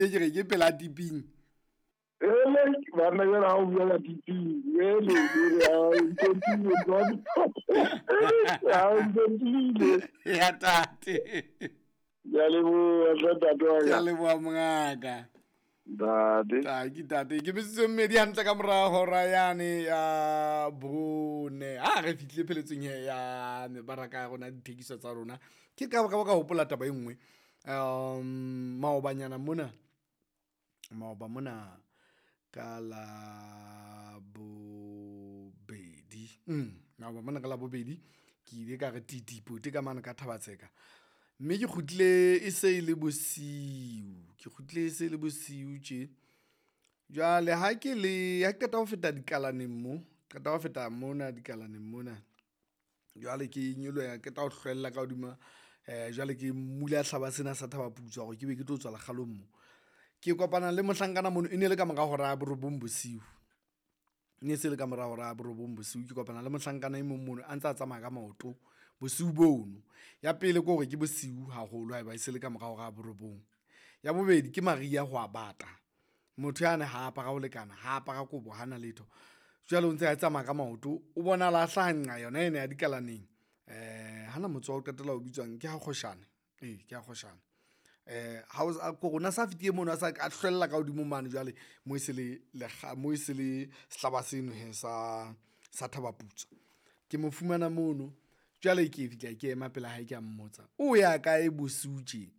Ke re ke pela tiping. Ele banna jale ha o bua ka tiping ele ele Ya tate. Ke a leboha hle ntate wa Ke a ka. leboha mongaka. Ntate. Taki tate ke metsotso e mmedi hantle ka mora hora yane ya bone. Ha re fihlile pheletsong he ya mebaraka ya rona, dithekiso tsa rona. Ke ka hopola taba e nngwe. Maobanyana mona, maoba mona ka Labobedi. Maoba mona ka Labobedi ke ile ka re titi pote ka mane ka Thaba-Tseka. Mme ke kgutlile e se e le bosiu, ke kgutlile e se le bosiu tje. Jwale ha ke le, ha ke qeta ho feta dikalaneng mo, qeta ho feta mona dikalaneng mona. Jwale ke nyoloha qeta ho hlwella ka hodima jwale ke mmula hlaba sena sa Thaba Putswa hore ke be ke tlo tswa lekgalong mo. Ke kopana le mohlankana mono e ne le ka mora hora ya borobong bosiu. E ne se le ka mora hora ya borobong bosiu. Ke kopana le mohlankana e mong mono a ntse a tsamaya ka maoto bosiu bono. Ya pele ke hore ke bosiu haholo haeba e se le ka mora hora ya borobong. Ya bobedi, ke mariha ho a bata. Motho yane ha apara ho lekana, ha apara kobo, hana letho. Jwale o ntse a tsamaya ka maoto, o bonahala a hlaha nqa yona ena ya dikalaneng. Hana motse wa ho qetela o bitswang? Ke ha Kgoshane, ee, ke ha Kgoshane. Kore o na sa fetile mono a sa, a hlwella ka hodimo mane jwale moo e se le moo e se le sehlaba seno hee sa Thaba Putswa. Ke mo fumana mono, jwale ke fihla ke ema pela hae ke a mmotsa, o ya kae bosiu tje?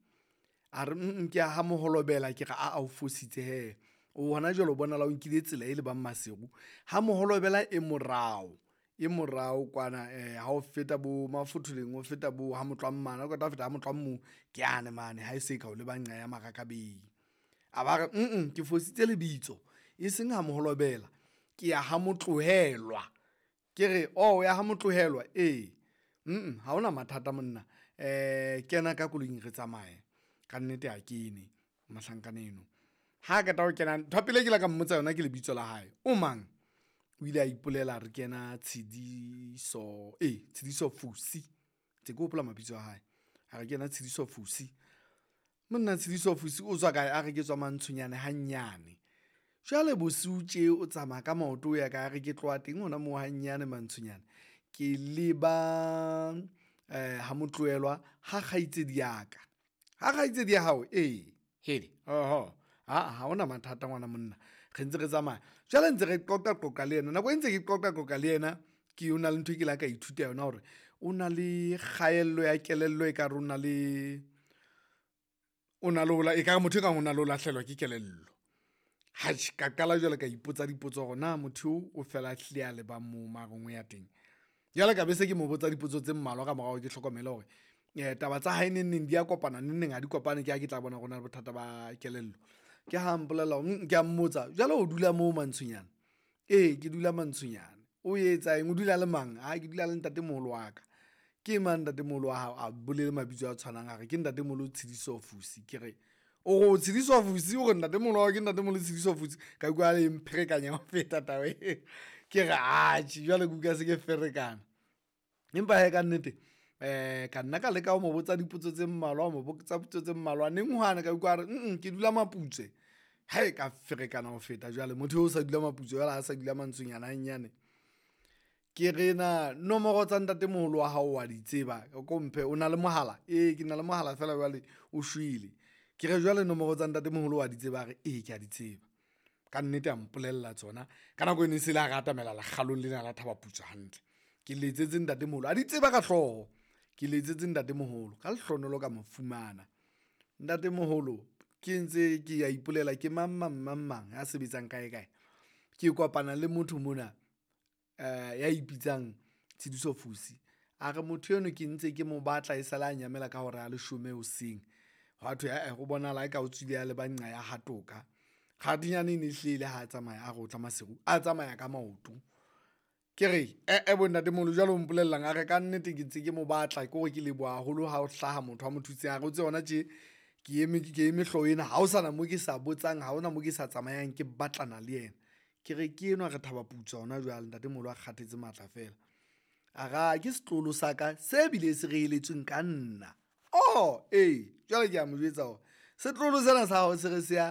A re ke ya ha Moholobela. Ke re aa o fositse hee, o hona jwale o bonahala o nkile tsela e lebang Maseru. Ha Moholobela e morao, e morao kwana ha o feta bo Mafotholeng, o feta bo ha Motlammane, ha o qeta ho feta ha Motlammong ke yane mane ha e se ka o leba nqa ya Marakabei. A ba re ke fositse lebitso e seng ha Moholobela, ke ya ha Motlohelwa. Ke re o ya ha Motlohelwa? Ee. Ha hona mathata monna kena ka koloing re tsamaye. Kannete a kene mohlankana eno. Ha qeta ho kena, ntho ya pele e ke ile ka mmotsa yona ke lebitso la hae, o mang? O ile a ipolela a re ke yena Tshidiso, ee Tshidiso Fusi. Ntse ke hopola mabitso a hae. A re ke yena Tshidiso Fusi. Monna Tshidiso Fusi o tswa kae? A re ke tswa Mantshonyane hanyane. Jwale bosiu tje o tsamaya ka maoto o ya kae? A re ke tloha teng hona moo hanyane Mantshonyane ke leba ha Motlohelwa ha kgaitsedi ya ka. Ha kgaitsedi ya hao? Ee. Hele, oho aa ha hona mathata ngwana monna. Re ntse re tsamaya. Jwale ntse re qoqa qoqa le yena, nako e ntse ke qoqa qoqa le yena ke o na le ntho e ke la ka ithuta yona hore o na le kgaello ya kelello ekare o na le, o na le ho ekare motho e kang o na le ho lahlehelwa ke kelello. Atjhe, ka qala jwale ka ipotsa dipotso hore na motho eo o fela a hlile a lebang moo mo a reng o ya teng. Jwale ka be se ke mo botsa dipotso tse mmalwa ka mora hore ke hlokomele hore taba tsa hae neng neng di a kopana, neng neng ha di kopane. Ke ha ke tla bona hore o na le bothata ba kelello. Ke ha mpolella hore ke a mmotsa, jwale o dula moo Mantshonyane? Ee, ke dula Mantshonyane. O etsa eng? O dula le mang? Ke dula le ntatemoholo wa ka. Ke mang ntatemoholo wa hao? A bolele mabitso a tshwanang, a re ke ntatemoholo Tshidiso Fusi. Ke re o re o Tshidiso Fusi, o re ntatemoholo wa hao ke ntatemoholo Tshidiso Fusi? Ka utlwa e mpherekanya ho feta taba e. Ke re atjhe jwale ke utlwa se ke ferekana. Empa hee kannete ka nna ka leka ho mo botsa dipotso tse mmalwa, ho mo botsa potso tse mmalwa. Neng hwane ka utlwa a re ke dula Maputswe. Ka ferekana ho feta jwale, motho eo o sa dula Maputswe jwale ha sa dula Mantshonyane hanyane. Ke re na nomoro tsa ntatemoholo wa hao wa di tseba? A ko mphe, o na le mohala? Ee, ke na le mohala feela jwale o shwele. Ke re jwale nomoro tsa ntatemoholo wa di tseba? A re ee, ke a di tseba. Kannete a mpolella tsona. Ka nako eno e se le ha re atamela lekgalong lena la Thaba Putswa hantle. Ke letsetse ntatemoholo, a di tseba ka hlooho. Ke letsetse ntatemoholo, ka lehlohonolo ka mo fumana. Ntatemoholo ke ntse ke a ipolela ke mang mang mang mang ya sebetsang kae kae. Ke kopana le motho mona ya ipitsang Tshidiso Fusi. A re motho eno ke ntse ke mo batla esale a nyamela ka hora ya leshome hoseng. Hwa thwe ae ho bonahala eka o tswile a leba nqa ya ha Toka. Kgathinyane e ne hlile ha tsamaya a re o tla Maseru, a tsamaya ka maoto. Ke re eh-eh bo ntatemoholo jwale o mpolellang? A re kannete ke ntse ke mo batla, ke hore ke leboha haholo ha ho hlaha motho a mo thutseng. A re o tsebe hona tje ke eme, ke eme hlooho ena. Ha ho sana moo ke sa botsang, ha hona moo ke sa tsamayang ke batlana le yena. Ke re ke enwa re Thaba Putswa hona jwale ntatemoholo a kgathetse matla feela. A re ke setloholo sa ka se bile se reheletsweng ka nna. Ee, jwale ke a mo jwetsa hore setloholo sena sa hao se re se ya.